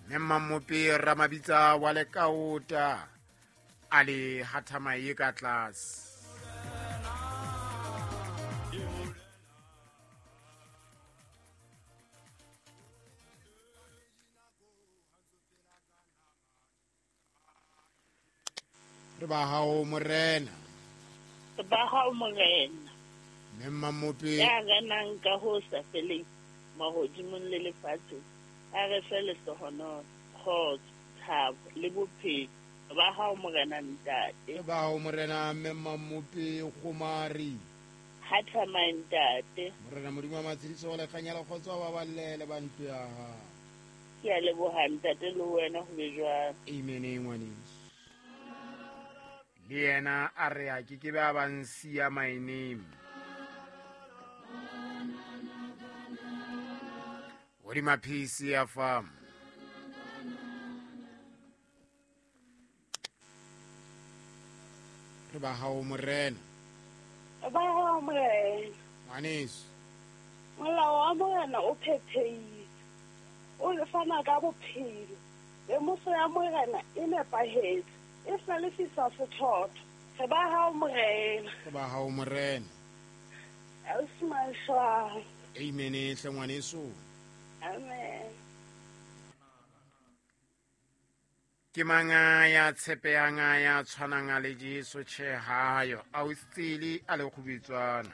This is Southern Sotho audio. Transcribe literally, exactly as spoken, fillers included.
Mme Mmamope Ramabitsa wa Lekaota a le hathamaye ka tlase. Re ba hao morena. Re ba hao morena. Mme Mmamope ya renang ka ho sa feleng mahodimong le lefatsheng, a re fe lehlohonolo, kgotso, thabo le bophelo. Re ba hao morena ntate. Re ba hao morena Mme Mmamope Kgomari. Hathamaye ntate. Morena Modimo wa matshediso le kganya le kgotso a baballe le ba ntlo ya hao. Ke a leboha ntate le wena ho be jwalo. Amen ngwaneso. Le yena a re a ke ke be a ba nsiya my name. Hodima P C ya farm. Re ba hao morena. Re ba hao morena. Ngwaneso. Molao wa morena o phethehile. O le fana ka bophelo. Lemoso ya morena e nepahetse. E hlalefisa sethotho. Re ba hao morena. Re ba hao morena. Ausi. Amen hle ngwaneso. Amen. Ke manga ya tshepehang ya tshwanang le Jesu tjhe hayo. Ausi Tsele a le kgubetswana.